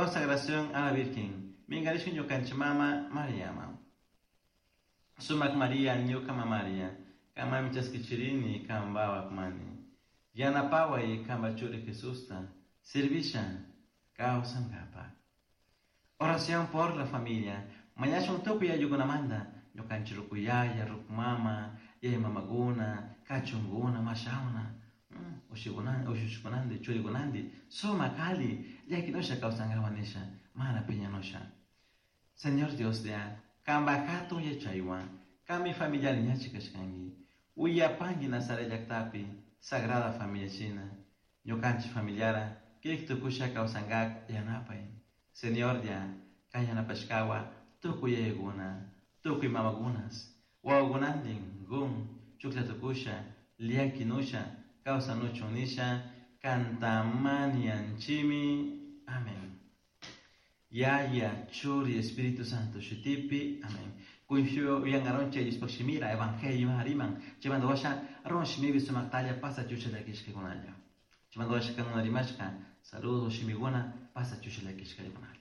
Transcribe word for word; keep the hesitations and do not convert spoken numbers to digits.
Consagración a la Virgen. Minkarishun ñukanchik mama Mariaman. Sumak Maria ñuka mamaria. Kanmanmi chaskichirini kanpa mani. Yanapaway kanpa churi Jesusta. Servisha kawsankapak. Oración por la familia. Mañashun tukuy ayllukunamanta. Ñukanchik rukuyaya, rukumama, yaya mamakuna, kachunguna, mashawna. Ushushikunandi, churikunandi, sumak alli, llakinusha kawsankapak nisha, mana piñanusha. Señor Dios ya, kanpak hatun yachaywan, kanmi familiari ñachi kashkanki. Uyapanki Nazaret llaktapi, Sagrada Familia shina, ñukanchik familiara, kirik tukusha kawsankak yanapay. Señor ya, kay yanapashkawa, tukuy yayakuna, tukuy mamakunas, wawakunantin, gun, chuklla tukusha, llakinusha, kawsanuchun nisha, kantamanianchimi. Amén. Yaya, Churi, Espíritu Santo, shutipi. Amén. Kunshu uyangaronche Diospaj shimira, Evangelio hariman, chaymanta washa, ron shimibi sumaktalla pasa chusha llakishkakunalla. Chaymanta washa kanuna rimashka, saludos shimiguna, pasa chusha llakishkakunalla.